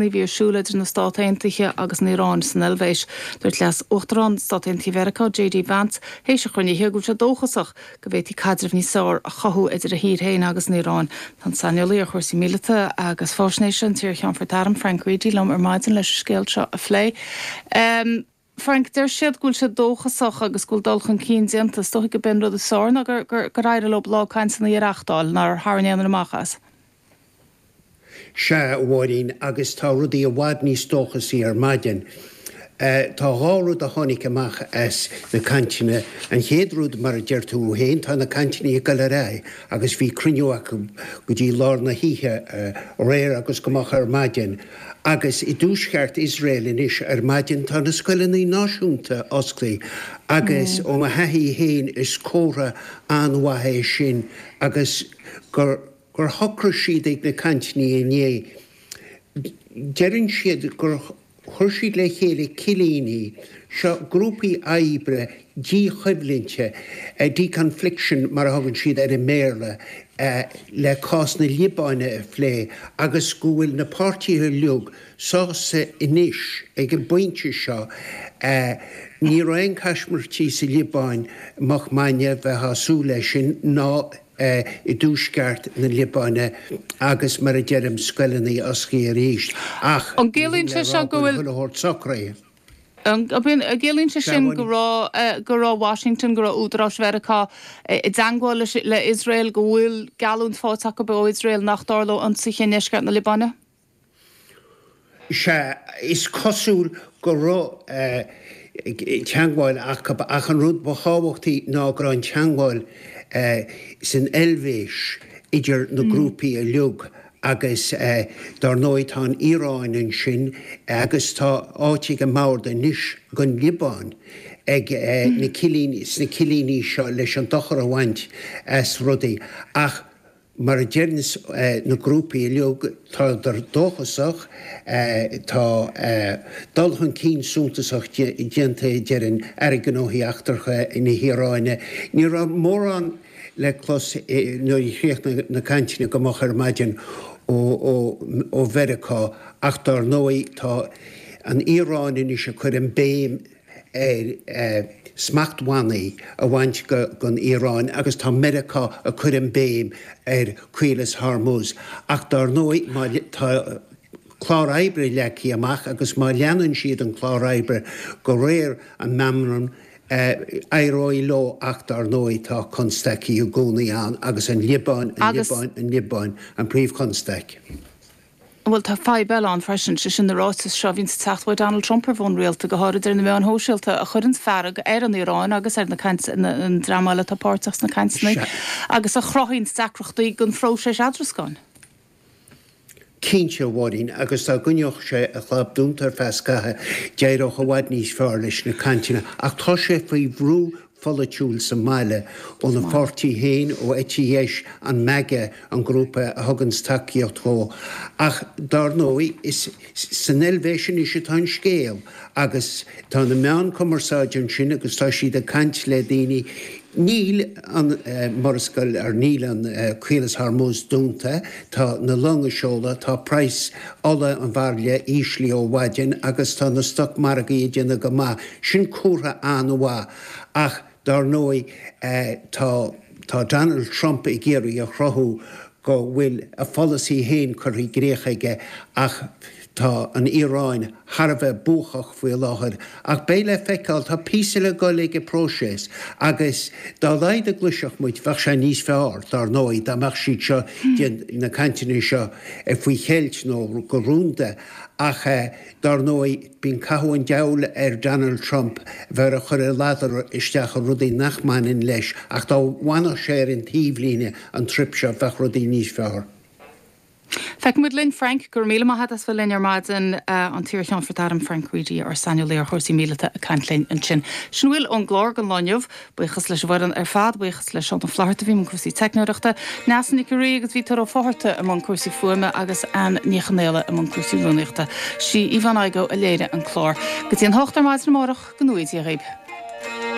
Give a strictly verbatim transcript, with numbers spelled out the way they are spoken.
a bhí ar siúl idir na Stáit Aontaithe agus an Iaráin san Eilvéis. Dúirt Leas-Uachtarán Stáit Aontaithe Mheiriceá J.D. Vance théis an chruinnithe go bhfuil sé dóchasach go bhféadfaí caidreamh níos fearr a chothú idir a thír féin agus an Iaráin. Tá an saineolaí ar chúrsaí míleata agus faisnéise an t-iarCheannfort Airm Frank Reidy liom ar maidin leis an scéal seo a phlé. Um, Frank deir siad go bhfuil sé dóchasach agus go bhfuil dul chun cinn déanta, is dócha gurb é an rud is fearr ná gur gur gur éirigh leo lá cainteanna a reáchtáil nár tharraing aon amach as. Sea a Mháirín agus tá rudaí i bhfad níos dóchasaí ar maidin. Uh, tá dhá rud a tháinig amach as na cainteanna. An chéad rud mar a deir tú féin tá na cainteanna ag dul ar aghaidh agus bhí cruinniú acu go dtí lár na hoíche uh, aréir agus go moch ar maidin. Agus i dtuaisceart Iosrael anois ar maidin tá na scoileanna náisiúnta oscailte agus mm. ó mo thaithí féin is comhartha an-mhaith é sin agus gur gur shocraigh siad ag na cainteanna inné. Deireann siad gur chuir siad le chéile cillíní seo grúpaí oibre díchoimhlinte deconfliction mar a thugann siad ar i mBéarla le cás na Liobáine a phlé agus go bhfuil na páirtithe uilig sásta anois ag an bpointe seo ní raibh aon caismirtí sa Liobáin moch maidine bheith ag súil leis sin ná i dtuaisceart na Liobáine agus mar a deirim scoileanna oscailte arís ach An gciallaíonn sé seo go bhfuil socraithe. An gciallaíonn sé sin go raibh go raibh Washington go raibh údaráis Mheiriceá i dteagmháil le Israel go bhfuil geallúint faighte acu ó Israel nach dtarlódh ionsaithe i ndeisceart na Liobáine? Sea is cosúil go raibh teagmháil acu ach an rud ba thábhachtaí ná go raibh an teagmháil san Eilvéis idir na grúpaí uilig agus dar ndóigh tá an Iaráin ansin agus tá áit ag an mbord anois don Liobáin ag na cillíní sna cillíní seo leis an dochar a bhaint as rudaí ach mar a deireann na grúpaí uilig tá dóchasach tá dul chun cinn suntasach déanta deireann Aire Gnóthaí Eachtracha na hIaráine. Ní raibh mórán le clos nuair a chríochnaigh na cainteanna go moch ar maidin ó ó Mheiriceá ach dar ndóigh tá an Iaráin anois ag cur an béim ar smachtbhannaí a bhaint den Iaráin agus tá Meiriceá ag cur an béim ar Caolas Hormuz. Ach dar ndóigh má tá clár oibre leagtha amach agus má leanann siad an clár oibre go réir an meamram éireoidh leo ach dar ndóigh tá constaicí i gcónaí ann agus an Liobáin an Liobáin an Liobáin an príomhchonstaic. Bhuel tá fadhb eile ann freisin sé sin na ráitis seo a bhíonn ag teacht ó Donald Trump ar bhonn rialta go háirid ar na meáin shóisialta a chuireann fearg ar an Iaráin agus ar na an dream eile atá páirteach sna cainteanna agus a chruthaíonn deacrachtaí don phróiseas eadrascáin. Cinnte a Mháirín agus dá gcoinneodh sé a chlab dúnta ar feadh scaithimh d'éireodh i bhfad níos fearr leis na cainteanna ach tá sé faoi bhrú pholaitiúil sa mbaile óna pháirtí féin ó eite dheis an MAGA an grúpa a thugann tacaíocht dó. Ach dar ndóigh is san Eilvéis anois atá an scéal agus tá na meáin cumarsáide ansin agus tá siad ag caint le daoine Níl an Murascaill ar níl an Caolas Hormuz dúnta, tá na longa ag seoladh, tá praghas ola an bhairille íslithe ó mhaidin agus tá na stocmhargaí ag déanamh go maith. Sin comhartha an-mhaith ach dar ndóigh tá tá Donald Trump ag iarraidh a chruthú go bhfuil a pholasaí féin curtha i gcrích aige ach tá an Iaráin thar a bheith buacach faoi láthair ach beidh le feiceáil tá píosa le dul ag an bpróiseas agus dá laghad a ghluaisfeadh muid bheadh sé níos fearr dar ndóigh dá mbeadh siad seo na cainteanna seo faoi cheilt nó go rúnda ach dar ndóigh bíonn cathú an diabhail ar Donald Trump bheith ag cur a ladar isteach i rudaí nach mbaineann leis ach dá bhfanfadh sé ar an taobhlíne an trip seo bheadh rudaí níos fearr. Feicfimid linn Frank go míle maith as bheith linn ar maidin an t-iarCheannfort Airm Frank Reidy ár saineolaí ar chúrsaí míleata ag caint linn ansin. Sin a bhfuil ón gclár don lá inniu, buíochas leis an bhfoireann ar fad, buíochas le Seán Ó Flatharta a bhí i mbun cúrsaí teicneoireachta, Neasa Nic Rí agus Vítor Ó Fátharta i mbun cúrsaí fuaime agus Ann Ní Chonaola i mbun cúrsaí rúnaíochta. Sí Yvonne Igoe a léirigh an clár. Go dtí an hocht ar maidin amárach go ngnóthaí Dia dhaoibh.